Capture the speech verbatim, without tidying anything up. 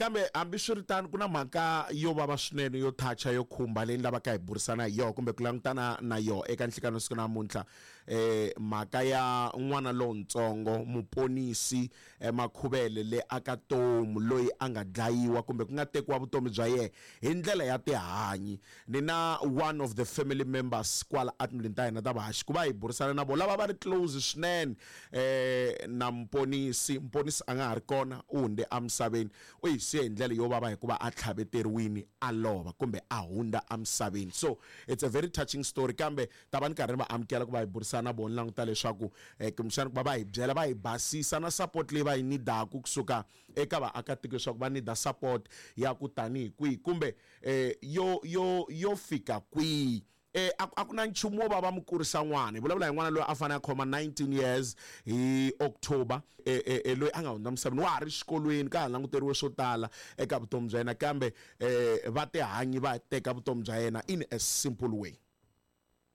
Kambe hambiswiritano ku na mhaka yo vava swinene, yo thacha, yo khumba, leyi ni lavaka hi burisana hi yona kumbe ku langutana na yona eka nhlikano siku namuntlha. eh mhaka ya n'wana lowuntsongo Muponisi eh, Makhuvele le aka Tomu, loyi a nga dlayiwa kumbe ku nga tekiwa vutomi bya yena hi ndlela ya tihanyi. Ni na one of the family members kwala atindlwini ta hina ta vahaxi ku va hi burisana na vona lava va ri close swinene eh na Muponisi. Muponisi a nga ha ri kona, u hundze emisaveni, u hi siye hi ndlela yo vava hikuva a tlhaveteriwini a lova kumbe a hundza emisaveni. So it's a very touching story, kambe ta va ni karhi ni va amukela ku va hi burisana na vona, languta leswaku eh, kumbexana ku va va hi byela, va hi basisa na support leyi va yi nidaku kusuka eka vaakatiko, leswaku va nida support ya ku tanihi kwihi kumbe eh, yo yo yo fika kwihi. eh a a ku na nchumu wo va va mu kurisa n'wana. Hi vulavula hi n'wana loyi a fanele a khoma nineteen years hi October, eh, eh, eh, loyi a nga hundza misaveni, wa ha ri xikolweni, ka ha languteriwe swo tala eka vutomi bya yena, kambe eh, va tihanyi va teka vutomi bya yena in a simple way.